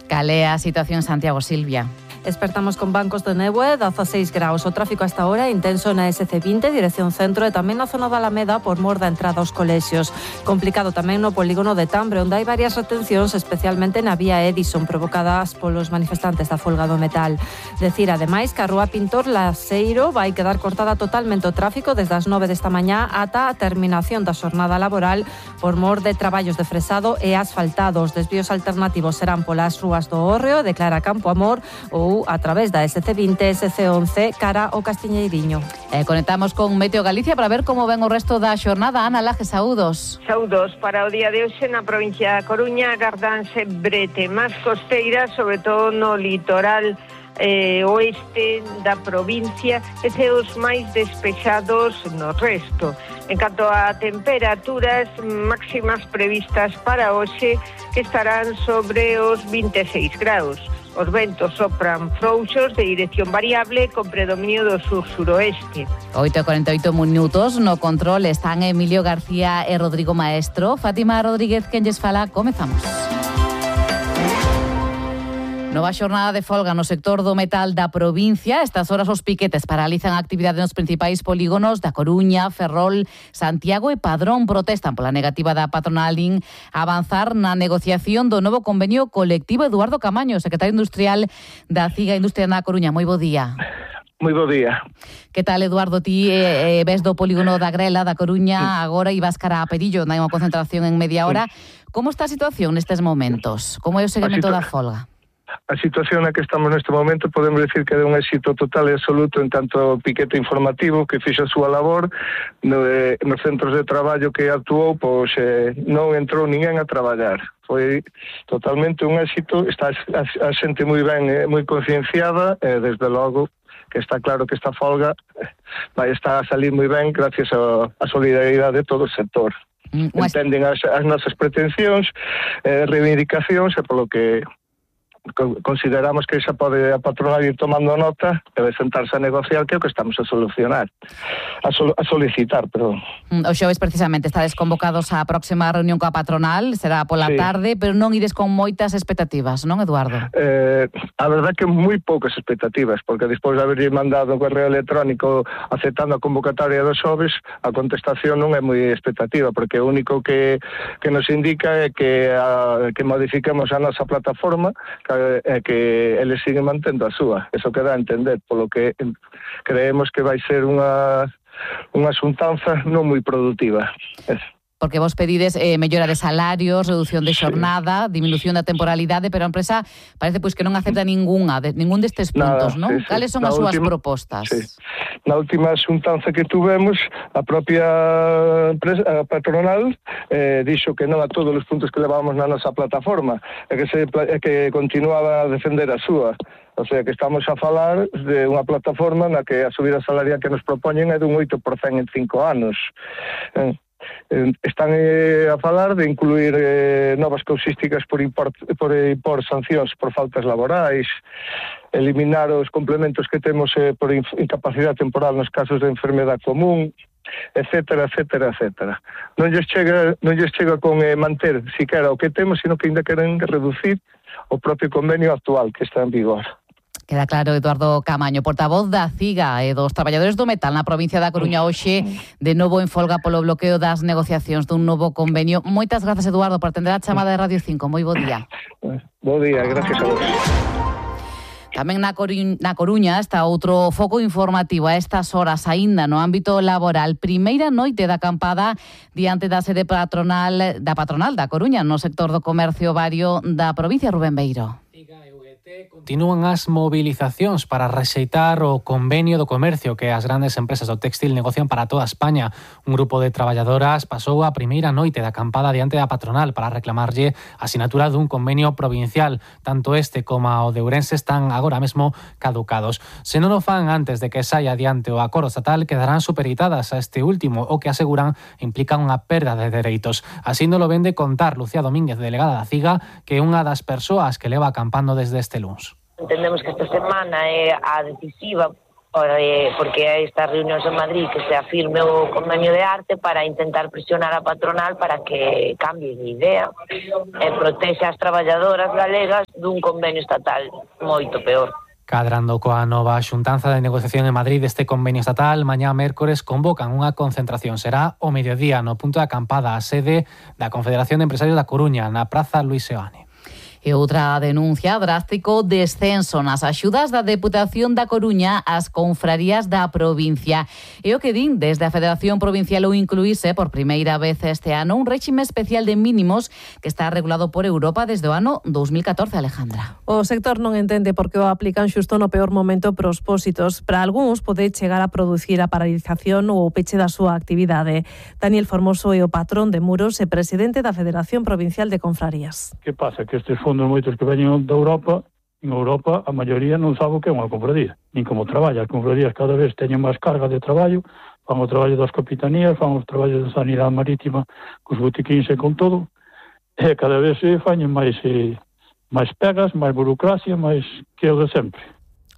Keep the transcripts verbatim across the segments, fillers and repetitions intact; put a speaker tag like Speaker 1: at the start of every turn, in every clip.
Speaker 1: Cal é a situación en Santiago, Silvia?
Speaker 2: Despertamos con bancos de neve, dezaseis graus. O tráfico hasta ahora é intenso na ese ce vinte, dirección centro, e tamén na zona da Alameda por mor da entrada aos colexios. Complicado tamén no polígono de Tambre, onde hai varias retencións, especialmente na vía Edison, provocadas polos manifestantes da folga do metal. Decir, ademais, que a rúa Pintor Laseiro vai quedar cortada totalmente o tráfico desde as nove desta mañá ata a terminación da xornada laboral por mor de traballos de fresado e asfaltado. Os desvíos alternativos serán polas rúas do Hórreo, de Clara Campo Amor ou a través da ese ce vinte, ese ce once, cara ao Castiñeiriño.
Speaker 1: Eh, conectamos con Meteo Galicia para ver como ven o resto da xornada. Ana Laje, saúdos.
Speaker 3: Saúdos. Para o día de hoxe na provincia da Coruña agardanse brete máis costeira, sobre todo no litoral eh, oeste da provincia, e ceos máis despexados no resto. En canto a temperaturas máximas previstas para hoxe, que estarán sobre os vinte e seis graus. Os ventos sopran frouxos de dirección variable con predominio do sur-suroeste.
Speaker 1: oito e cuarenta e oito minutos, no control están Emilio García e Rodrigo Maestro. Fátima Rodríguez, quen lles fala, comezamos. Nova xornada de folga no sector do metal da provincia. Estas horas os piquetes paralizan a actividade nos principais polígonos da Coruña, Ferrol, Santiago e Padrón. Protestan pola negativa da patronal in a avanzar na negociación do novo convenio colectivo. Eduardo Camaño, secretario industrial da CIGA Industria na Coruña. Moi bo día.
Speaker 4: Moi bo día.
Speaker 1: Que tal, Eduardo? Ti eh, ves do polígono da Grela, da Coruña, agora ibas cara a Perillo, na unha concentración en media hora. Como está a situación nestes momentos? Como é o seguimento da folga?
Speaker 4: A situación na que estamos neste momento podemos decir que é un éxito total e absoluto en tanto piquete informativo que fixo a súa labor no, eh, nos centros de traballo que actuou, pois eh, non entrou ninguén a traballar. Foi totalmente un éxito, está a, a xente moi ben, eh, moi concienciada e desde logo que está claro que esta folga vai estar a salir moi ben gracias a, a solidaridade de todo o sector. Mm, Entenden as, as nosas pretensións, eh, reivindicacións e polo que consideramos que xa pode a patronal ir tomando nota e de sentarse a negociar, que é o que estamos a solucionar a, sol, a solicitar, perdón.
Speaker 1: O xoves precisamente estades convocados á próxima reunión coa patronal, será pola sí. tarde, pero non ides con moitas expectativas, non, Eduardo?
Speaker 4: Eh, a verdade que moi poucas expectativas, porque despois de haberlle mandado o correo electrónico aceptando a convocatoria dos xoves, a contestación non é moi expectativa, porque o único que, que nos indica é que, a, que modifiquemos a nosa plataforma, que é que eles siguen mantendo a súa. Eso queda a entender, polo que creemos que vai ser unha unha xuntanza non moi produtiva. Eso.
Speaker 1: Porque vos pedides eh, mellora de salarios, reducción de xornada, sí. disminución da temporalidade, pero a empresa parece pois que non acepta ninguna, de, ningún destes puntos, non?
Speaker 4: Sí, sí.
Speaker 1: Cales son
Speaker 4: Na
Speaker 1: as súas
Speaker 4: última,
Speaker 1: propostas?
Speaker 4: Sí. Na última xuntanza que tuvemos, a propia empresa, a patronal eh, dixo que non a todos os puntos que levábamos na nosa plataforma, e que, se, e que continuaba a defender a súa. O sea, que estamos a falar de unha plataforma na que a subida salarial que nos propoñen é dun oito por cento en cinco anos. Eh, Están eh, a falar de incluir eh, novas causísticas por impor, por impor sancións por faltas laborais, eliminar os complementos que temos eh, por incapacidade temporal nos casos de enfermedade común, etcétera, etcétera, etcétera. Non lles chega, non lles chega con eh, manter siquera o que temos, sino que ainda queren reducir o propio convenio actual que está en vigor.
Speaker 1: Queda claro, Eduardo Camaño, portavoz da CIGA e dos traballadores do metal na provincia da Coruña, hoxe de novo en folga polo bloqueo das negociacións dun novo convenio. Moitas grazas, Eduardo, por atender a chamada de Radio cinco. Moi bo día.
Speaker 4: Bo día, gracias a vos.
Speaker 1: Tamén na Coruña, na Coruña está outro foco informativo a estas horas aínda no ámbito laboral. Primeira noite da acampada diante da sede patronal da patronal da Coruña no sector do comercio vario da provincia. Rubén Beiro.
Speaker 5: Continúan as movilizacións para rexeitar o convenio do comercio que as grandes empresas do textil negocian para toda España. Un grupo de traballadoras pasou a primeira noite da acampada diante da patronal para reclamarlle a asinatura dun convenio provincial. Tanto este como o de Ourense están agora mesmo caducados. Se non o fan antes de que saia adiante o acordo estatal, quedarán supeditadas a este último, o que aseguran implica unha perda de dereitos. Así non lo ven de contar Lucía Domínguez, delegada da CIGA, que é unha das persoas que leva acampando desde este luns.
Speaker 6: Entendemos que esta semana é a decisiva porque hai estas reunións en Madrid que se afirme o convenio de arte para intentar presionar a patronal para que cambie de idea e protexe as traballadoras galegas dun convenio estatal moito peor.
Speaker 5: Cadrando coa nova xuntanza de negociación en Madrid deste convenio estatal, mañá mércores convocan unha concentración. Será o mediodía no punto de acampada a sede da Confederación de Empresarios da Coruña, na Praza Luis Seoane.
Speaker 1: E outra denuncia, drástico descenso nas axudas da Deputación da Coruña ás confrarías da provincia. E o que din desde a Federación Provincial ou incluírse por primeira vez este ano un réxime especial de mínimos que está regulado por Europa desde o ano dos mil catorce, Alejandra.
Speaker 2: O sector non entende por que o aplican xusto no peor momento prospósitos. Para algúns pode chegar a producir a paralización ou o peche da súa actividade. Daniel Formoso é o patrón de Muros e presidente da Federación Provincial de Confrarías.
Speaker 7: Que pasa? Que estes fondos moitos que veñen da Europa, en Europa a maioría non sabe o que é unha confradía, nin como traballa. As confradías cada vez teñen máis carga de traballo, fan o traballo das capitanías, fan os traballos de sanidade marítima, cos botiquíns e con todo, e cada vez se fañen máis, eh, máis pegas, máis burocracia, máis que o de sempre.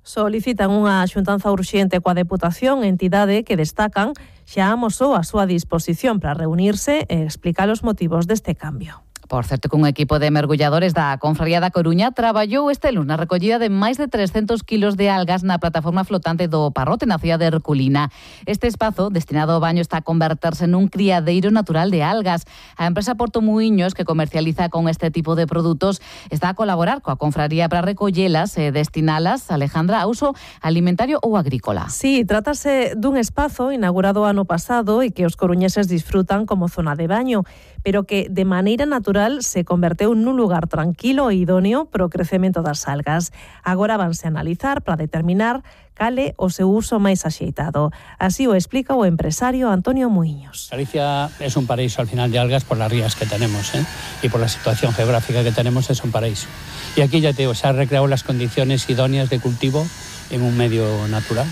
Speaker 2: Solicitan unha xuntanza urxente coa Deputación, entidade que destacan xa amosou a súa disposición para reunirse e explicar os motivos deste cambio.
Speaker 1: Por certo, que un equipo de mergulladores da Confraría da Coruña traballou este lunes na recollida de máis de trescentos kilos de algas na plataforma flotante do Parrote na cidade de Herculina. Este espazo, destinado ao baño, está a converterse nun criadeiro natural de algas. A empresa Porto Muiños, que comercializa con este tipo de produtos, está a colaborar coa Confraría para recollelas e destinalas, Alejandra, a uso alimentario ou agrícola.
Speaker 2: Sí, trátase dun espazo inaugurado ano pasado e que os coruñeses disfrutan como zona de baño, pero que de maneira natural se converteu nun lugar tranquilo e idóneo para o crecemento das algas. Agora vanse a analizar para determinar cal é o seu uso máis axeitado. Así o explica o empresario Antonio Muiños.
Speaker 8: Galicia es un paraíso al final de algas por las rías que tenemos, ¿eh? Y por la situación geográfica que tenemos es un paraíso. Y aquí ya te digo, se han recreado las condiciones idóneas de cultivo en un medio natural.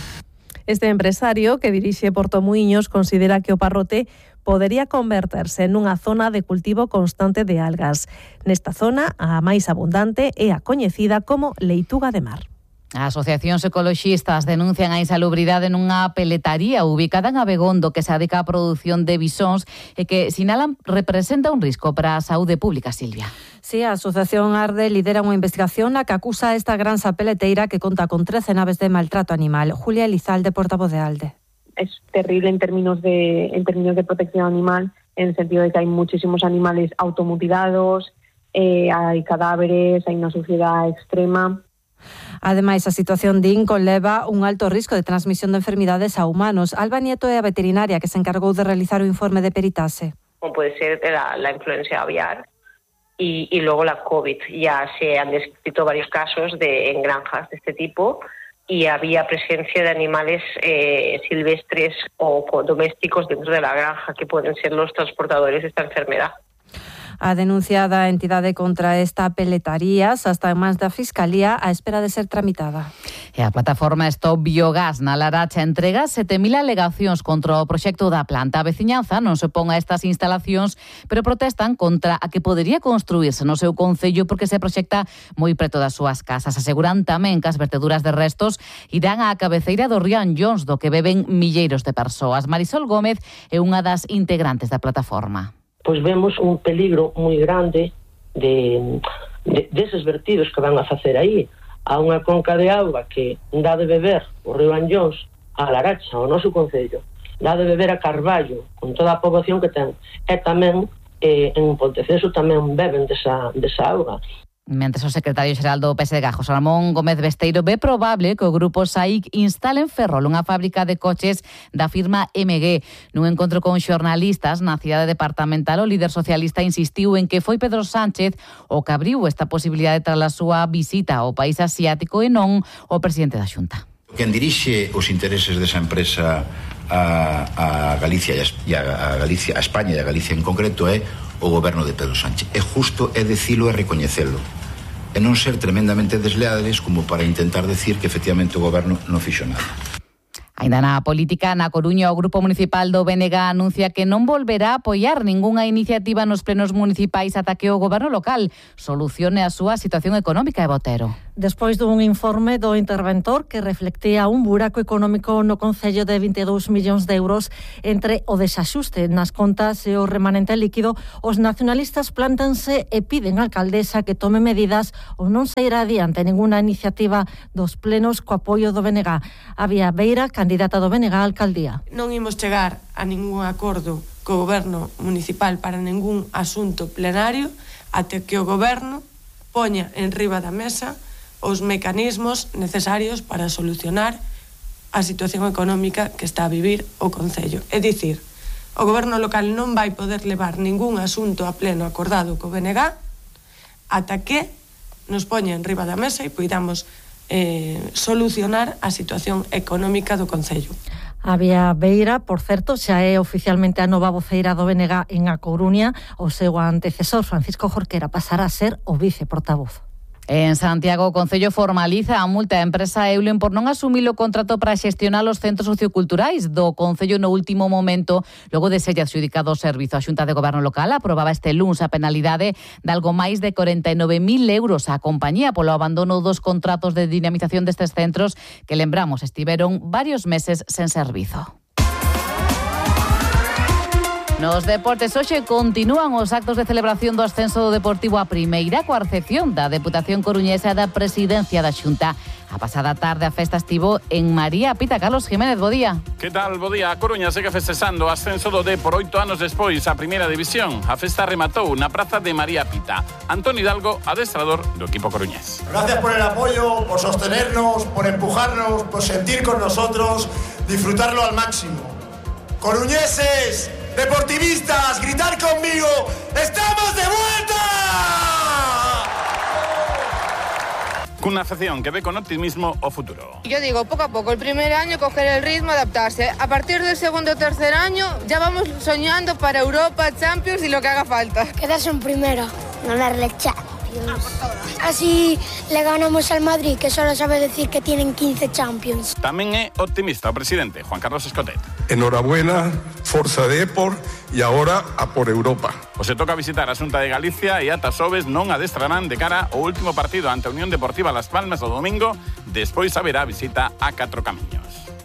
Speaker 2: Este empresario, que dirixe Porto Muiños, considera que o Parrote podería converterse nunha zona de cultivo constante de algas. Nesta zona, a máis abundante é a coñecida como leituga de mar.
Speaker 1: As asociacións ecoloxistas denuncian a insalubridade nunha peletaría ubicada en Abegondo que se dedica á produción de bisóns e que sinalan representa un risco para a saúde pública, Silvia.
Speaker 2: Sí, a Asociación Arde lidera unha investigación na que acusa a esta granxa peleteira que conta con trece naves de maltrato animal. Julia Elizalde, portavoz de Alde.
Speaker 9: Es terrible en términos de en términos de protección animal, en el sentido de que hay muchísimos animales automutilados, eh, hay cadáveres, hay una suciedad extrema.
Speaker 2: Ademais, a situación din conleva un alto risco de transmisión de enfermidades a humanos. Alba Nieto é a veterinaria que se encargou de realizar o informe de peritaxe.
Speaker 6: Como puede ser la, la influencia aviar y, y luego la COVID. Ya se han descrito varios casos de, en granjas de este tipo y había presencia de animales eh, silvestres o domésticos dentro de la granja que pueden ser los transportadores de esta enfermedad.
Speaker 2: A denuncia da entidade contra esta peletaría xa está en mans da Fiscalía á espera de ser tramitada.
Speaker 1: E a plataforma Stop Biogás na Laracha entrega sete mil alegacións contra o proxecto da planta. A veciñanza non se opón a estas instalacións, pero protestan contra a que podería construirse no seu concello porque se proxecta moi preto das súas casas. Aseguran tamén que as verteduras de restos irán á cabeceira do río Anllóns, do que beben milleiros de persoas. Marisol Gómez é unha das integrantes da plataforma.
Speaker 10: Pois vemos un peligro moi grande de, de deses vertidos que van a facer aí a unha conca de auga que dá de beber o río Anllóns a Laracha, o noso concello, dá de beber a Carballo con toda a poboación que ten, e tamén eh, en Ponteceso tamén beben desa, desa auga.
Speaker 1: Mentres o secretario xeral do P S D, José Ramón Gómez Besteiro, ve probable que o grupo S A I C instale en Ferrol unha fábrica de coches da firma M G. Nun encontro con xornalistas na cidade departamental, o líder socialista insistiu en que foi Pedro Sánchez o que abriu esta posibilidade tras a súa visita ao país asiático e non o presidente da Xunta.
Speaker 11: Quen dirixe os intereses desa empresa a, a Galicia e a, a Galicia, a España e a Galicia en concreto é o goberno de Pedro Sánchez. É justo é dicilo e recoñecelo. E non ser tremendamente desleales como para intentar decir que efectivamente o goberno non fixo nada.
Speaker 1: Ainda na política, na Coruña, o Grupo Municipal do B N G anuncia que non volverá a apoiar ningunha iniciativa nos plenos municipais ata que o goberno local solucione a súa situación económica, e Botero.
Speaker 2: Despois dun informe do interventor que reflectía un buraco económico no Concello de vinte e dous millóns de euros entre o desaxuste nas contas e o remanente líquido, os nacionalistas plántanse e piden á alcaldesa que tome medidas ou non se irá adiante ninguna iniciativa dos plenos co apoio do B N G. Avia Beira, candidata do B N G á alcaldía.
Speaker 12: Non imos chegar a ningún acordo co goberno municipal para ningún asunto plenario até que o goberno poña en riba da mesa os mecanismos necesarios para solucionar a situación económica que está a vivir o Concello. É dicir, o goberno local non vai poder levar ningún asunto a pleno acordado co B N G ata que nos poña en riba da mesa e poidamos eh, solucionar a situación económica do Concello.
Speaker 2: Avia Beira, por certo, xa é oficialmente a nova voceira do B N G en A Coruña. O seu antecesor, Francisco Jorquera, pasará a ser o viceportavoz.
Speaker 1: En Santiago, o Concello formaliza a multa á empresa Eulen por non asumir o contrato para xestionar os centros socioculturais do Concello no último momento, logo de ser adxudicado o servizo. A Xunta de Goberno Local aprobaba este luns a penalidade de algo máis de corenta e nove mil euros á compañía polo abandono dos contratos de dinamización destes centros que, lembramos, estiveron varios meses sen servizo. Nos deportes, hoxe continúan os actos de celebración do ascenso do Deportivo a primeira coa recepción da Deputación Coruñesa da Presidencia da Xunta. A pasada tarde a festa estivo en María Pita. Carlos Jiménez, bo día.
Speaker 13: Que tal, bo día? A Coruña segue festexando o ascenso do D por oito anos despois a primeira división. A festa rematou na praza de María Pita. Antón Hidalgo, adestrador do equipo coruñés.
Speaker 14: Gracias por el apoyo, por sostenernos, por empujarnos, por sentir con nosotros, disfrutarlo al máximo. Coruñeses, deportivistas, gritar conmigo, ¡estamos de vuelta!
Speaker 13: Cunha afección que ve con optimismo o futuro.
Speaker 15: Yo digo, poco a poco, el primer año coger el ritmo, adaptarse. A partir del segundo o tercer año ya vamos soñando para Europa, Champions y lo que haga falta.
Speaker 16: Quedarse en primera, ganarle el Champions. Así le ganamos al Madrid, que solo sabe decir que tienen quince Champions.
Speaker 13: Tamén é optimista o presidente Juan Carlos Escotet.
Speaker 17: Enhorabuena, Forza Depor e agora a por Europa.
Speaker 13: O se toca visitar a Xunta de Galicia e ata xoves non adestrarán de cara ao último partido ante a Unión Deportiva Las Palmas o domingo, despois haberá visita a Catro Camiños.